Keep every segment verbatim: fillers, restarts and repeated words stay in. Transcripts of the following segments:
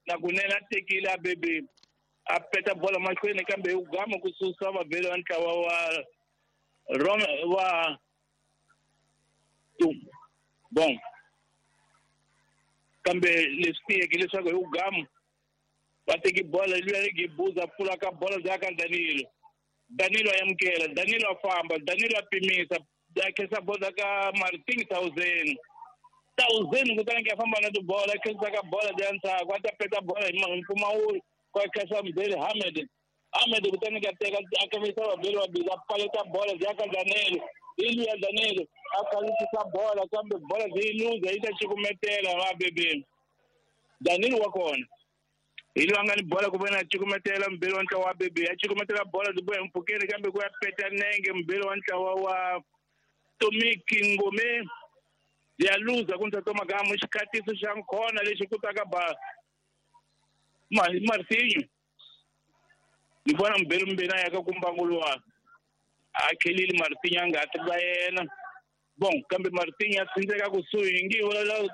Na kunene a tekile a bebe a peta bola mahlweni kambe hi gama ku susa vabeli va ntlawa wa Rome wa bon kambe leswi tiyeke leswaku hi ugamu va teki bola luya ri Gebuza pfula ka bola bya ka Danilo. Danilo a amukela, Danilo a famba, Danilo a pimisa, a khensa bola ka Martin Thousand. Thousand kutani ke famba na tibola, a khensa ka bola bya ndzhaku, a ta peta bola hi mpfumawulo, ku a khensa Mbeli Hamed. Hamed kutani ka teka a khensa vabeli vabili a paleta bola bya ka Danilo. Hi luya Danilo a khansisa bola kambe bola byi luza yi ta cukumetela va bebeni. Danilo wa kona. Hi loyi a nga ni bola ku vona a cukumetela mbeli wa ntlawa wa bebe a cukumetela bola byi boha mpfhukeni kambe ku ya peta nenge mbeli wa ntlawa wa Tomiki Ngome ya luza ku ndza Magamu xikhatiso xa nkhona lexi kutaka ba Martinho ni vona mbeli mbeni a ya ka kumbangu luwa a khelile Martinho a nga ti va yena bon kambe Martinho a tsindzeka kusuhi ngi vula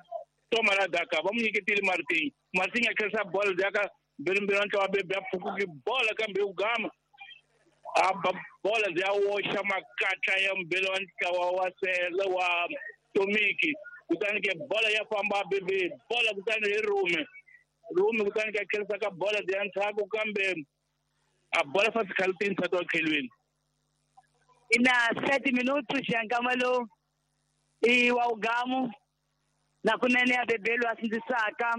Toma la daka va mu nyiketile Martinho. Martinho a khensa bola daka mbeli wa ntlawa bebe a pfukuki bola kambe u gama a ba bola ya woxa makatla ya mbeli wa ntlawa wa sele wa Tomiki kutani ke bola ya famba bebe bola kutani hi rume rume kutani ke khensa ka bola ya ndzhaku kambe a bola fa sikhalutini sa to khelweni ina sete minutos ya nkama lowu i wa ugamu na kunene ya bebelo a sindzisaka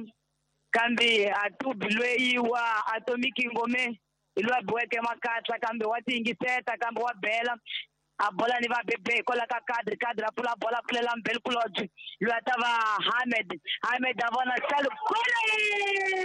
kambe a tubi loyi wa Atomic Ngome hi loyi a biweke makatla kambe wa tiyingiseta kambe wa bela a bola ni va bebe hikwalaho ka kadri kadri a pfula bola a pfulela mbeli kulobye loyi a ta va Hamed Hamed a vona xalo gole.